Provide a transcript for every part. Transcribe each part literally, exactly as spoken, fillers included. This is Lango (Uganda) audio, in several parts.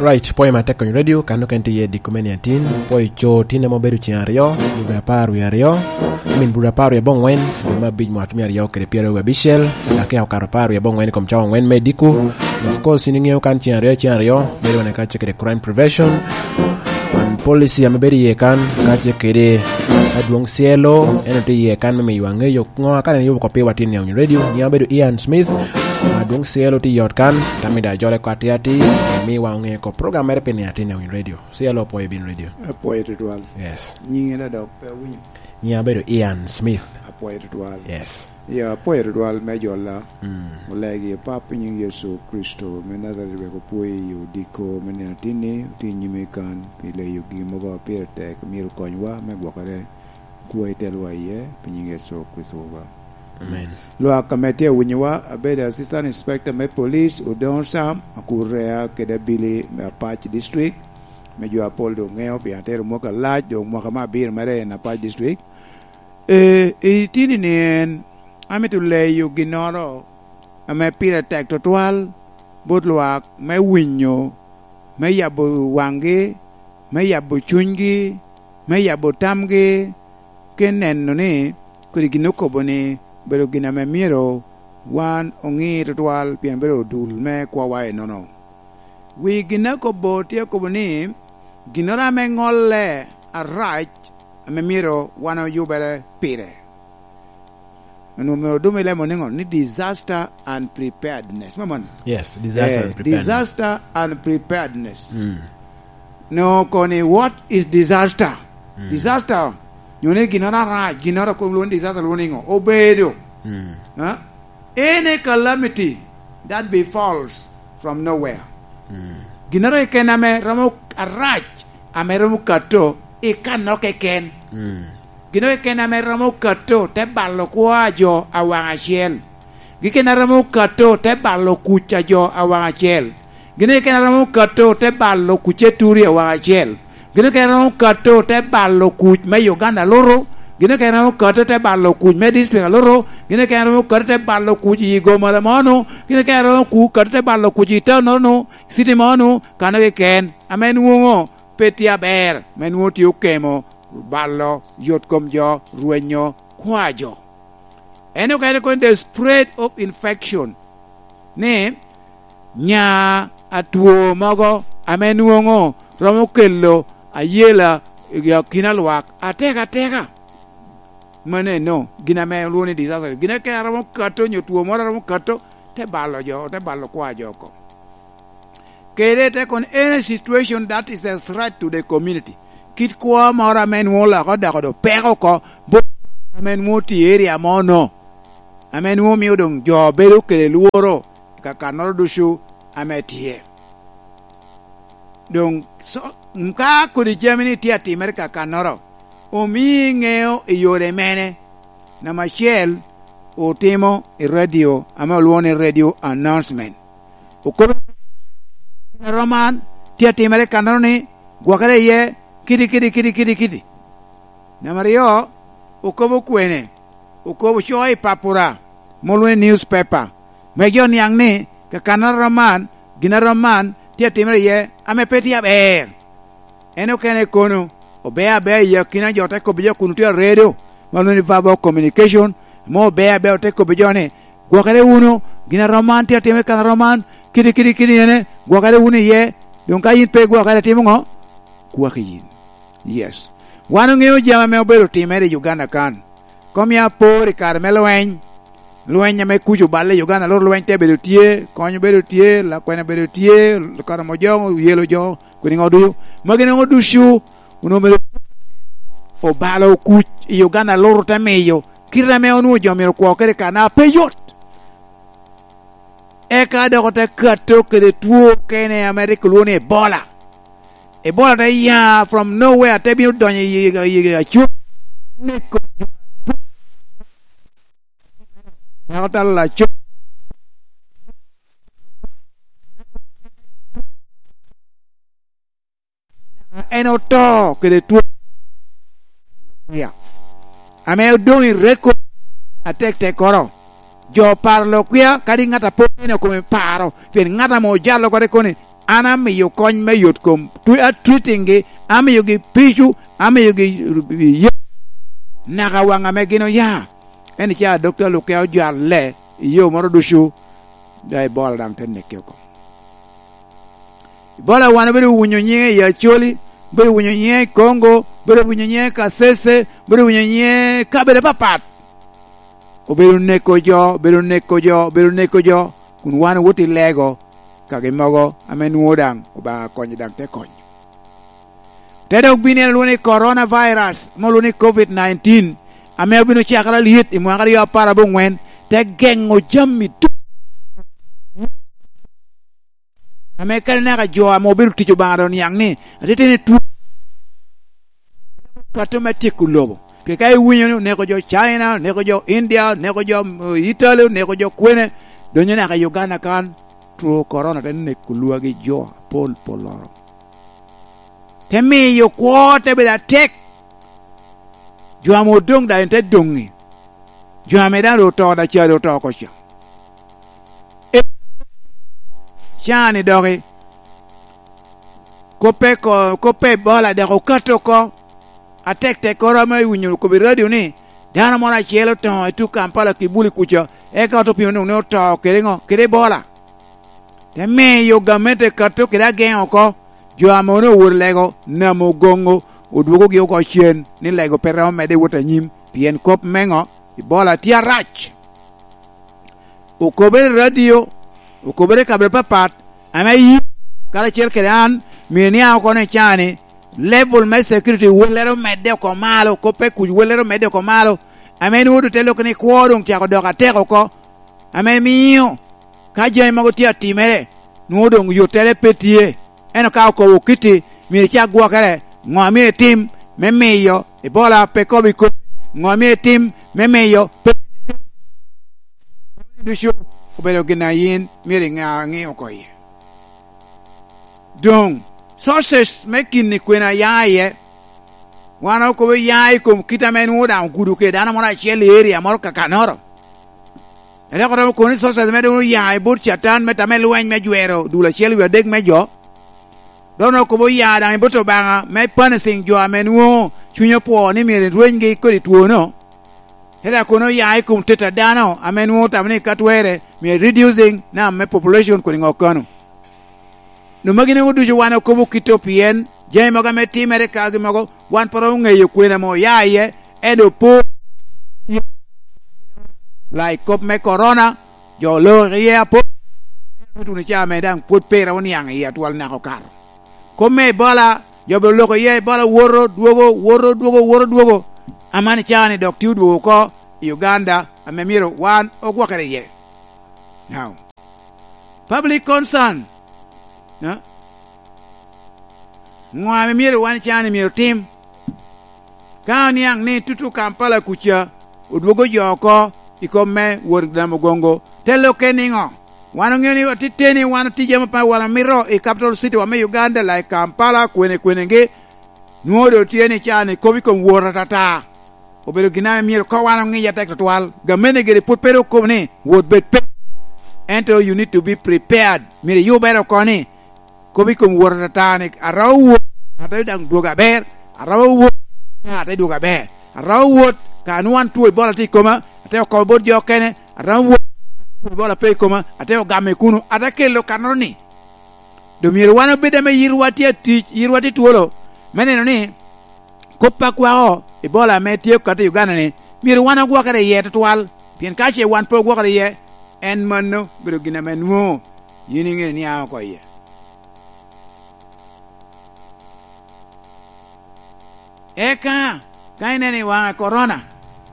Right, pwoyo matek Konyo Radio, kan okene tye iye diko me niatin, pwoyo co tin ame obedo ceng aryo, dwe apar wie aryo, I mean, dwe apar wie abongwen, dwe me abic mwaka me aryo kede pyeraryo wie abicel, dok ka okato apar wie abongwen i kom cawa angwen me diko. Of course, in iŋeo kan ceng aryo, ceng aryo, bedo wane kacel kede crime prevention, and policy ame bedo iye kan, kacel kede adwoŋ C L O, en otye iye kan me miyo aŋeyo ŋo a kare en yubo kop piwa tin i Konyo Radio, nyiŋa obedo Ian Smith, adwoŋ C L O tye i ot kan, tammi da jole ko atir atir, miwa oŋe kop program mere pi niatin i Konyo Radio. C L O pwoyo bin radio. Apwoyo tutwal. Yes. Nyinge da dok pe awinyo. Nyiŋa obedo Ian Smith. Apwoyo tutwal. Yes. Ya, apwoyo tutwal me jolla. Mm. Olegi Pap i nyiŋ Yecu Kricito me Najaret wek opwoyo i odiko me nino atinni, otye i nyimi kan, pi leyo gin mogo a pire tek, myero okonywa me gwokere, kwo itelwa iye, pi nyiŋ Yecu Kricito wa. Amen. Lwak ame tye awinyowa, abedo Assistant Inspector me Police, Odongo Sam, Akurea kede Abili me Apac District, me jo apol doŋ ŋeo, pien atero mwaka alac, doŋ mwaka me abiro mere en Apac District. Ee, i tini-ni en, amito leyo ginnoro ame pire tek tutwal bot lwak me winyo, me yabo waŋgi, me yabo cunygi, me yabo tamgi, ke neno ni kodi gin okobo-ni obedo gin ame myero wan oŋi tutwal, pien bedo odul me kwowa enono. Wi gin akobo tye akobo ni, ginnoro ame ŋolle arac ame myero wan oyubere pire. Onwoŋo myero odum i lemo niŋo? Ni disaster and preparedness. Me mano? Yes, disaster Eh, and preparedness. Disaster and preparedness. Mm. No, koni, what is disaster? Mm. Disaster, nyo ni ginnoro arac, ginnoro a kobo lwongo ni disaster, lwongo niŋo? Obedo. Mm. Ha? Any calamity that befalls from nowhere. Mm. Ginnoro keken ame romo arac, ame romo kato i kanno keken. Mm. Ginnoro keken ame romo kato te balo kwo a jo awaŋ acel. Gin keken a romo kato te balo kuc a jo awaŋ acel. Gin keken a romo kato te balo kuc eturi awaŋ acel. Gin keken a romo kato te balo kuc me Uganda alutu. Gin keken a romo kato te balo kuc me district alutu. Gin keken a romo kato te balo kuc i gomala mono. Gin keken a romo ku-, kato te balo kuc i town mono, city mono, kano keken. Ame nwoŋo pe tye aber, ame nwoŋo tye okemo balo yot kom jo, rwenyo kwa jo. En okene kono the spread of infection, ni nya atwo mogo ame nwoŋo romo kelo ayela i akina lwak atek ateka. Mano eno, gin ame olwongo ni disaster. Gin ake a romo kato, nyo two moro a romo kato, te balo jo, te balo kwa jo oko. Kede te kono, any situation that is a threat to the community. Kit kwo moro ame nwoŋo oloko odoko do peko oko, bo-, ame nwoŋo tye i area mo no, ame nwoŋo mio doŋ jo bedo kede lworo i kakannoro ducu ame tye. Doŋ, so, ka kodi jami ni tye atimere i kakannoro, omii ŋeo i yore mene? Namba acel, otimo i radio, ame olwoŋo ni radio announcement. Okobo, "Romo man tye atimere i kannoro ni, gwokere iye, kiti, kiti, kiti, kiti, kiti." Namba aryo, okobo kwene? Okobo coo i papura, ma olwoŋo ni newspaper, me jo niaŋ ni kakannoro man, gin a rom man tye atimere iye, ame pe tye aber. En okene kono, obea abea i akina jo, te kobbi jo kun otye aredo, ma lwongo ni verbal communication, ame obea abea, ote kobbi jo ni, "Gwokere wunu, gin a rom man tye atimere i kan a rom man, kiti, kiti, kiti, ene, gwokere wunu iye, doŋ ka yin pe igwokere, timo ŋo? Kwaki yin." Yes. Wan oŋeo jami ame obedo timere i Uganda kan. Kom ya apor i kare me lweny, lweny ame kuc oballe i Uganda, loro lweny te bedo tye, kony obedo tye, lakwena obedo tye, Karamojongo oyelo jo, kwene ŋo ducu. Magi noŋo ducu, onwoŋo myero obalo kuc i Uganda, loro te miyo kite ame onwoŋo jo myero okwo kede kan a pe yot. Eka dok ote kato kede two okene ame rik olwoŋo ni Ebola. Ebola te ya from nowhere, te bino donyo i, i, i, i Acuc. Neko jo. Nyako talo Acuc. En oto kede two. Ya. Ame odoŋ i record atek tekkoro. Jo paro lok kwia, kadi ŋat a pe okene kome paro, pien ŋat ame ojalo kore koni, An amiyo kony me yot kom, tu-, a treating-gi, amiyogi pico, amiyogi ye-, naka waŋ ame gin oya. En ica dokta lukke ojalle i yo moro ducu, da Ebola daŋ te neke oko. Ebola wan obedo winyo nyiŋe i Acholi, obedo winyo nyiŋe i Congo, obedo winyo nyiŋe i Kasese, obedo winyo nyiŋe i kabedo apapat. Obedo neko jo, obedo neko jo, obedo neko jo, kun wan owot i lego kagi mogo ame nwoŋo daŋ Obaŋa konyo daŋ te konyo. Te dok bino en olwoŋo ni coronavirus, ame olwoŋo ni covid nineteen, ame obino cakere alyet i mwaka aryo apar aboŋwen, te geŋo jami ducu. Ame kadi naka jo ame obedo tic Obaŋa doŋ niaŋ ni, atitino i two kato me tyeko lobo. Pien ka iwinyo ni oneko jo China, oneko jo India, oneko jo, mm, Italy, oneko jo kwene, donyo naka i Uganda kan, two korona te neko lwagi jo apol polloro. Te miyo kwo te bedo atek. Jo ame odoŋ daŋ te doŋi. Jo ame daŋ ru oto daŋ ca ru oto oko ca. E, cani doki. Koppe ko-, koppe Ebola dok okato oko. Atek tekkoro ame iwinyo kop i radio ni, dano moro acel oto i tuk Kampala Kibuli kuca, eka oto pino ni oto kede ŋo? Kede Ebola. Te miyo gamente kato kede ageŋo oko, jo ame onwoŋo owoto lego, namo ogoŋo, odwogogi oko cen, ni lego pe romo medde wot anyim, pien kop me ŋo? Ebola tye arac. Okobere i radio, okobere i kabedo papat, ame yin, karacel kede an, myero iniaŋ oko ni cani, level me security wellere omedde oko malo, kop me kuc wellere omedde oko malo, ame nwoŋo doŋ te loko ni kwo doŋ cako dok atek oko, ame miyo ka jami mogo tye atimere, nwoŋo doŋ yottere pe tye. Ento ka okobo kitti, myero icak gwokere, ŋo myero itim me miyo Ebola pe kobo i komi? Ŋo myero itim me miyo pe ducu obedo gin a yin myero iŋa aŋi oko iye? Doŋ, sources me kinni kwene a ya iye? Wan okobo ya i kom kit ame nwoŋo daŋ ogudo kede dano moro acel i area moro kakanoro. Ento dok oromo kono ni sources me doŋ oya i bot Catan me tame lweny me jwero dul acel wie adek me jo. Dok onwoŋo kobo oya daŋ i bot Obaŋa me punishing jo ame nwoŋo cunye opwoo ni myero erwenygi kodi twono. Te dok kono oya i kom teta dano ame nwoŋo tamo ni ka twerre myero reducing nam me population kodi ŋo kano. Doŋ magi nwoŋo ducu wan okobo kito pien jami mogo ame timere kagi mogo wan pe romo ŋeyo kwene ame oya iye, ento po like kop me korona, jo oloko iye apol, tuno ca ame daŋ pwod pe iromo niaŋ iye atwal naka okato. Kop me Ebola, jo bene oloko iye, Ebola woto, dwogo, woto, dwogo, woto, dwogo. Aman icaa-ni dok tye odwogo oko i Uganda, ame myero wan ogwokere iye. Now, public concern, no? Ŋo ame myero wan icaa-ni myero tim? Ka oniaŋ ni tutu Kampala kuca odwogo jo oko i kom me wot Namugongo, te lokke niŋo? Wan oŋeo ni atiteni wan otije ame pe wan omito i capital city wa me Uganda, like Kampala, kwene kwenegi, nwoŋo doŋ tye ni caa-ni kop i kom wot atata. Obedo gin ame myero koŋ wan oŋic atek tutwal. Gamente gire pwod pe rik okobo ni, "Wot bed pe." Ento you need to be prepared. Myero iyubere oko ni, kop i kom wot atata ni, "Aromo wot, ate daŋ dwogo aber, aromo wot, ate dwogo aber, aromo wot, ka nwoŋo an two Ebola tye i koma, ate okobo bot jo okene, aromo wot, two Ebola pe i koma, ate ogamo i kuno, ate kelo kannoro ni." Doŋ myero wan obed ame yitwa tye atic, yitwa tye twolo, me neno ni kop a kwako Ebola ame tye okato i Uganda-ni, myero wan ogwokere iye tutwal, pien ka ce wan pe ogwokere iye, en mano obedo gin ame nwoŋo yin iŋeo ni a oko iye. Eka, ka ineno i waŋe korona,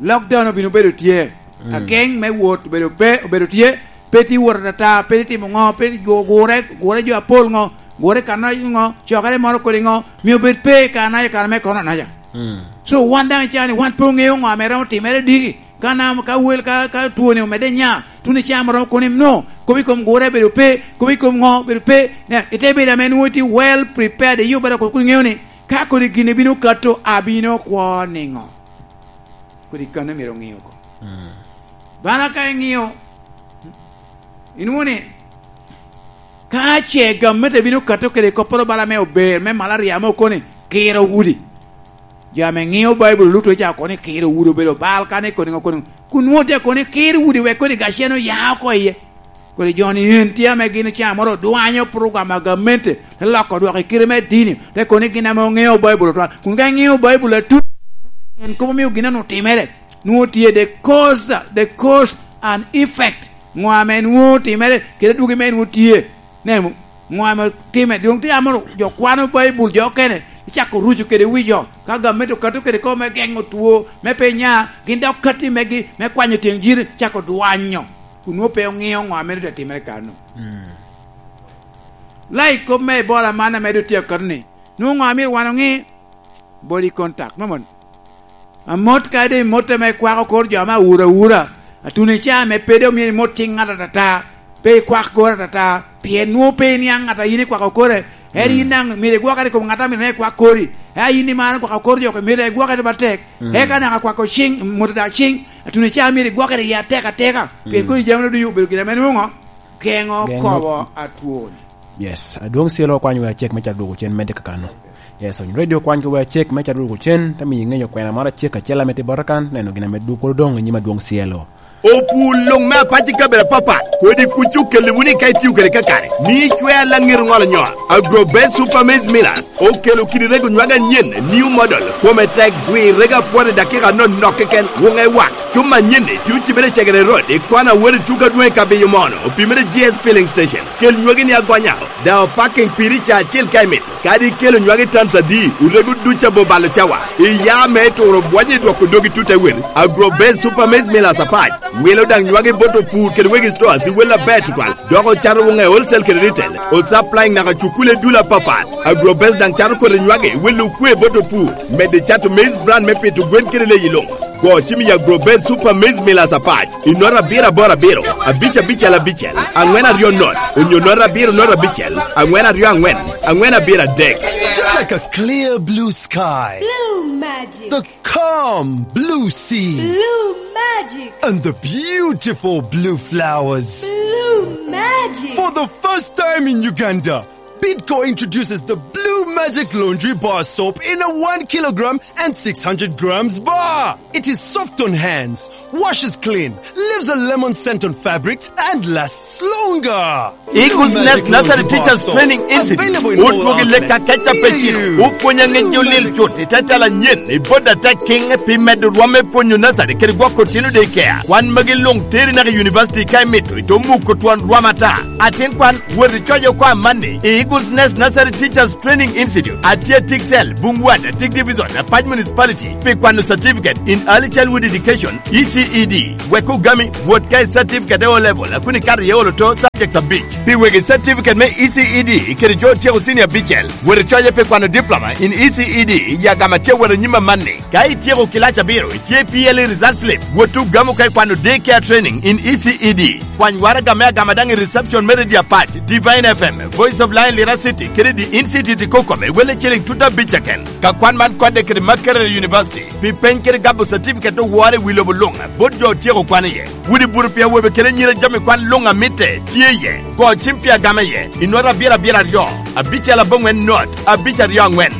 lockdown obino bedo tye. Mm. Ageŋ me wot obedo pe, obedo tye, pe tye wot atata, pe tye timo ŋo, pe tye gu-, gure, gure jo apol ŋo, gure kanaca ŋo, cokere moro kodi ŋo, myero obed pe i kanaca, kare me korona naca. Mm. So, wan daŋ icaa-ni, wan pe oŋeo ŋo ame romo timere diki. Ka nam, ka wel, ka, ka twoni omedde nya, tuno icamo romo kono no, kop i kom gure bedo pe, kop i kom ŋo bedo pe. Ne, ite bedo ame nwoŋo itye well prepared, iyubere kun iŋeo ni ka kodi gin ebino kato, abino kwo niŋo? Kodi kano myero oŋeo oko. Mm. Bana ka iŋeo, inwoŋo ni, Ka ce gamente bino kato kede kopporo bala me ober, me malaria ame okoni, kiro udi. Jo ame ŋeo Baibul luto ca okoni kiro udi obedo bal, kane koni, koni, kun nwoŋo tye koni kiro udi wek koni gacen oya oko iye. Kodi jo-ni en tye ame gin ca moro odwanyo program a gamente, te loko dwoko i kite me dini, te koni gin ame oŋeo Baibul otwal. Kun ka iŋeo Baibul atut, en kop omio gin anu timere. Nwoŋo tye the cause, the cause and effect. Ŋo ame nwoŋo timere, kede dwogi me nwoŋo tye. Ne, ŋo ame timere? Doŋ tye amoro jo kwano Baibul, jo okene, icako ruco kede wi jo. Ka gamente okato kede kop me geŋo two, me pe nya, gin dok katti megi, me kwanyo tyeng jiri, cako dwanyo. Kun nwoŋo pe oŋeo ŋo ame doŋ timere kano. Mm. Lai kop me Ebola man ame doŋ tye akato ni, nwoŋo ŋo amito wan oŋe? Body contact, mamon. Amot ka doŋ imot ame ikwako kor jo ame awura awura. Atuni ca ame pe doŋ myero imot cing ŋat atata. Pe ikwak kor atata. Pien nwoŋo pe iniaŋ ŋat a yin ikwako kore. Eri Mm. yin daŋ myero igwokere i kom ŋat a myero ikwak kori. Eka yin imaro kwako kor jo, myero igwokere matek. Mm. Eka daŋ akwako cing, mot dak cing. Atuni ca myero igwokere iye atek ateka. Pien Mm. kodi jami ducu obedo gin ame nwoŋo geŋo Geŋo. kobo atwoni. Yes, adwoŋ Cielo okwanyo wea cek me ca dwogo cen medde kakano. Yes, Ony Radio okwanyo wea cek me ca dwogo cen, te miyo iŋeyo kwena moro acek acel ame tye bota kan, neno gin ame dwogo doŋ i nyim adwoŋ Cielo. Opur luŋ me apac i kabedo apapat, kodi kuc okelle wunu ka itio kede kakare. Mi icwer laŋet oŋolo nyo. Agrobest Super Maize Millers okelo kidi rego nywag anyen, new model, kome tek, gwirrege apwot i dakika nonok keken, wuŋe wak. Cuma anyen-ni tye ocibere i Cegere Road, i kona wot i tuka dwoŋ i Kabiyo Mono, opimere G S Filling Station. Kel nywagi ni agonya, daŋ opaking piri ca acel ka imito. Kadi ikelo nywagi tons adi, orego duc abobalo cawa. Iya me turo bwonyo i dwoko dogi tut awel. Agrobest Super Maize Millers apac. Wilo daŋ nywagi bot opur kede wegi stores i wel aber tutwal. Dok ocato wuŋe wholesale kede retail. O supplying naka cukule dul apapat. Agrobest daŋ cato kodi nywagi, wilo okwe bot opur. Medde cato maize bran me pito gwen kede leyi luŋ. Go cim i Agrobest Super Maize Millers apac, i nota abiro aboro abiro, abic abicel abicel, aŋwen aryo not, onyo nota abiro not abicel, aŋwen aryo aŋwen, aŋwen abiro adek. Just like a clear blue sky. Blue magic. The calm blue sea. Blue magic. And the beautiful blue flowers. Blue magic. For the first time in Uganda, Bidco introduces the Blue Magic Laundry Bar Soap in a one kilogram and six hundred grams bar. It is soft on hands, washes clean, leaves a lemon scent on fabrics, and lasts longer. Eagles Nest Nursery Teachers Training Institute otwogi lek ka keca pecino, opwonyo aŋec jo lil cut i te tela anyen i bot atek kiŋ pi medo rwom me pwonyo nursery kede gwoko tino daycare. Kwan magi luŋ teri naka i university ka imito, ito muko twon rwom ata. Atin kwan, wot icoc oko amanni i Eagles Nest Nursery Teachers Training Institute, atye Tiksel, Bungwat, Atik Division, Apac Municipality, pi kwano Certificate in Early Childhood Education, E C E D. Wek ogami, wot ka i certificate e O Level, a kun ikato iye olo to subjects abic. Pi wegi certificate me E C E D kede jo otyeko senior abicel, wot icoye pi kwano diploma in E C E D i agama tye wot anyim amanni. Ka ityeko kilac abiro, itye P L E result slip, wot ogamo ka ikwano day care training in E C E D. Kwany waraga me agama daŋ i reception me Radio Apac, Divine F M, Voice of Lion Lira City, kede The Institute i Kokome, welle ciling tut abic keken. Ka kwan man kodde kede Makerere University, pi peny kede gabo certificate owore i wi lobo luŋ, bot jo otyeko kwan iye. Udi bur pi awobe kede anyira jami kwan luŋ a mitte tye iye. Go cim pi agama iye, i nota abiro abiro aryo, abicel aboŋwen not, abic aryo aŋwen.